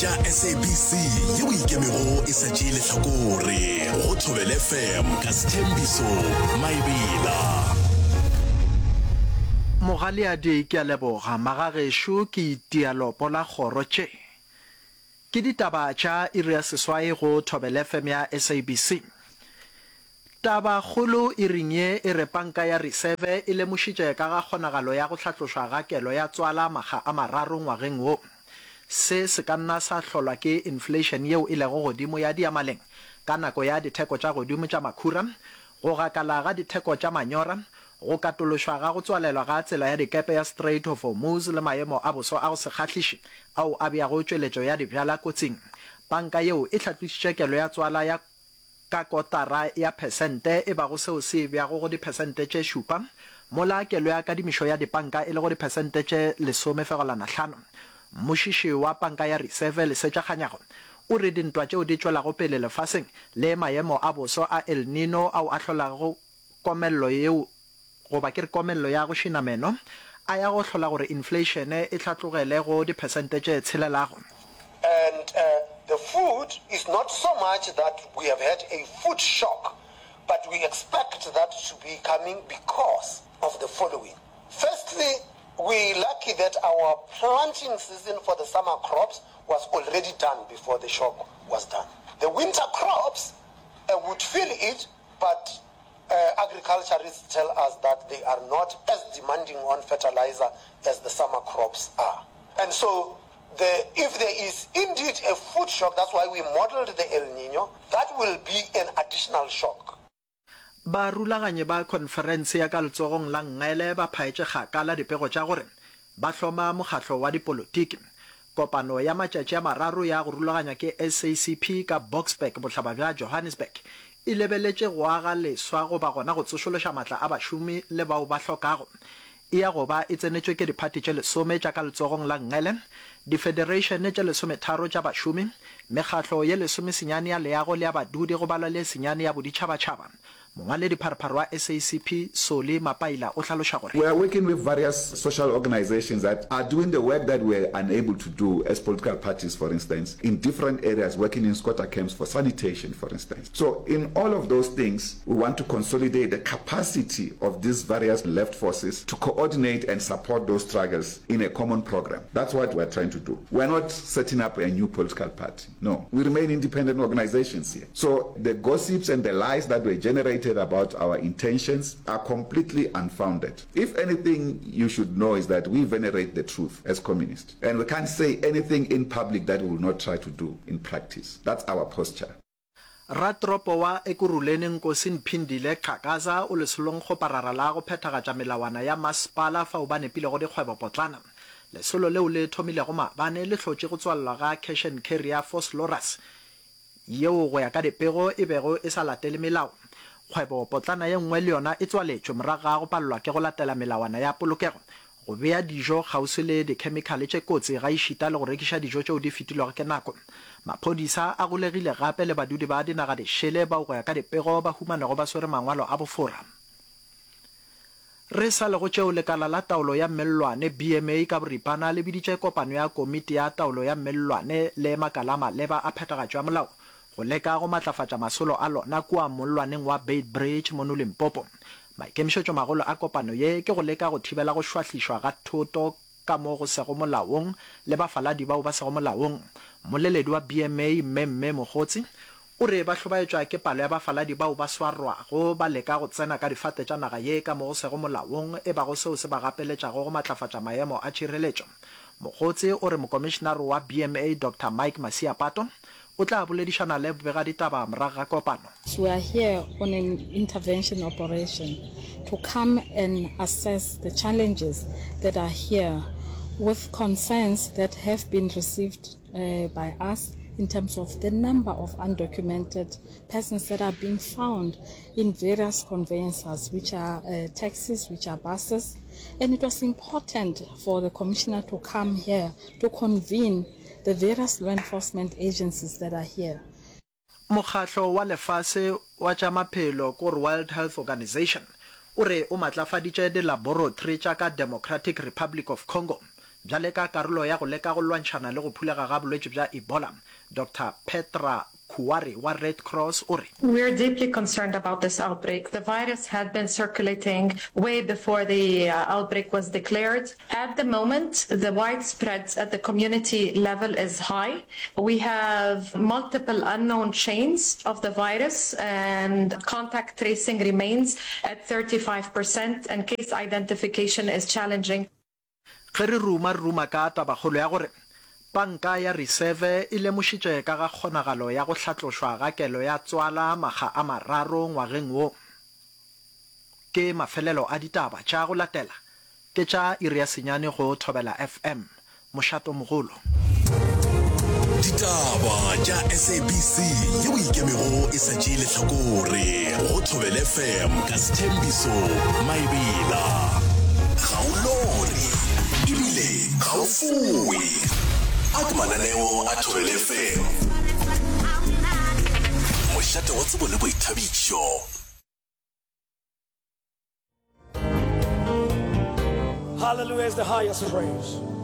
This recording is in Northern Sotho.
tša SABC yeo e ikemego e sa tšee lehlakore go Thobela FM ka Sthembiso Maebela. Mogaleadi ke a leboga. Magagešo ke itia lopo la kgoro tše. Ke ditaba tša iri ya seswai go Thobela FM ya SABC. Tabakgolo iring ye e re Panka ya Riseve e lemošitše ka ga kgonagalo ya go hlatlošwa ga kelo ya tswala makga a mararo ngwageng wo. Se se ka nna sa hlolwa ke inflation yeo e lego godimo ya diyamaleng ka nako ya ditheko tša godimo tša makhura, go gakala ga ditheko tša manyora, go katološwa ga go tswalelwa ga tsela ya dikepe ya Strait of Hormuz le maemo a boso a go se kgahliše ao a beago tšweletšo ya dibjala kotsing. Panka yeo e hlatlošitše kelo ya tswala ya ka kotara ya phesente e bago seo se e beago go diphesente tše šupa, mola kelo ya kadimišo ya dipanka e le go diphesente tše lesomefegolana-hlano. Mmušiši wa Panka ya Riseve, Lesetša Kganyago, o re dintwa tšeo di tšwelago pele lefaseng le maemo a boso a El Nino ao a hlolago komello yeo goba ke re komello ya go šina meno, a ya go hlola gore infleišene e hlatlogele go diphesente tše tshelelago. And the food is not so much that we have had a food shock, but we expect that to be coming because of the following. Firstly, we lucky that our planting season for the summer crops was already done before the shock was done. The winter crops would feel it, but Agriculturists tell us that they are not as demanding on fertilizer as the summer crops are. And so the, if there is indeed a food shock, that's why we modeled the El Nino, that will be an additional shock. Barulaganyi ba khonferense ya ka letsogong la nngele ba phaetše kgakala dipego tša gore ba hloma mokgatlo wa dipolotiki. Kopano ya matšatši a mararo ya go rulaganywa ke SACP ka Boksburg, bohlaba bja Johannesburg, e lebeletše go aga leswa goba gona go tsošološa matla a bašomi le bao ba hlokago. E ya go ba e tsenetšwe ke diphathi tše lesome tša ka letsogong la nngele, difedereišene tše lesometharo tša bašomi, mekgatlo ye lesomesenyane ya leago le ya badudi go balwa le ye senyane ya boditšhabatšhaba. Mongwaledipharephare wa SACP, Solly Mapaila o hlaloša gore. We are working with various social organisations that are doing the work that we are unable to do as political parties, for instance, in different areas, working in squatter camps for sanitation, for instance. So in all of those things, we want to consolidate the capacity of these various left forces to coordinate and support those struggles in a common program. That's what we are trying to do. We are not setting up a new political party. No, we remain independent organizations here. So the gossips and the lies that were generated about our intentions are completely unfounded. If anything you should know is that we venerate the truth as communists. And we can't say anything in public that we will not try to do in practice. That's our posture. Ratoropo wa Ekurhuleni Nkosi Mphindile Xhakaza o lesolongkgoparara la go phethagatša melawana ya masepala fao ba nepilego dikgwebopotlana. Lesolo leo le thomilego maabane le hlotše go tswalelwa ga Cash and Carry ya Vosloorus yeo go ya ka dipego e bego e sa latele melao. Kgwebopotlana ye nngwe le yona e tswaletšwe morago ga go palelwa ke go latela melawana ya polokego Go bea dijo kgauswi le dikhemikhale tše kotsi gaešita le go rekiša dijo tšeo di fetilwego ke nako. Maphodisa a golegile gape le badudi ba dinaga dišele bao go ya ka dipego ba humanego ba swere mangwalo a bofora. Re sa le go tšeo, lekala la taolo ya mellwane, BMA, ka boripana le biditše kopano ya komiti ya taolo ya mellwane le makala a maleba a phethagatšo ya molao go leka go matlafatša masolo a lona kua mollwaneng wa Beitbridge mono Limpopo. Maikemišetšomagolo a kopano ye ke go leka go thibela go šwahlišwa ga thoto ka mo go sego molaong le bafaladi bao ba sego molaong. Mmoleledi wa BMA, Mme Mme Mogotsi, o re ba hlobaetšwa ke palo ya bafaladi bao ba swarwago ba leka go tsena ka difate tša naga ye ka mo go sego molaong e bago seo se ba gapeletšago go matlafatša maemo a tšhireletšo. Mogotsi o re Mokomišenare wa BMA Doctor Mike Masiapato o tla boledišana le bobegaditaba morago ga kopano. We are here on an intervention operation to come and assess the challenges that are here with concerns that have been received by us in terms of the number of undocumented persons that are being found in various conveyances, which are taxis, which are buses. And it was important for the commissioner to come here to convene the various law enforcement agencies that are here. Mokgatlo wa Lefase wa tša Maphelo kore World Health Organization o re o matlafaditše dilaboratory tša ka Democratic Republic of Congo. Bjale ka karolo ya go leka go lwantšhana le go phulega ga bolwetši bja Ebola, Doctor Petra Kuwari wa Red Cross o re. We are deeply concerned about this outbreak. The virus had been circulating way before the outbreak was declared. At the moment, the widespread at the community level is high. We have multiple unknown chains of the virus and contact tracing remains at 35% and case identification is challenging. Ge re ruma re ruma ka tabakgolo ya gore Panka ya Riseve e lemošitše ka ga kgonagalo ya go hlatlošwa ga kelo ya tswala makga a mararo ngwageng wo. Ke mafelelo a ditaba tša go latela ke tša iri ya senyane go Thobela FM, mošatomogolo. Ditaba tša SABC yeo e ikemego e sa tšee lehlakore go Thobela FM ka Sthembiso Maebela. Ga o lore ebile ga o foe. A ke mananeo a Thobela FM. Mošate wa tsebo le boithabišo. Hallelujah is the highest praise.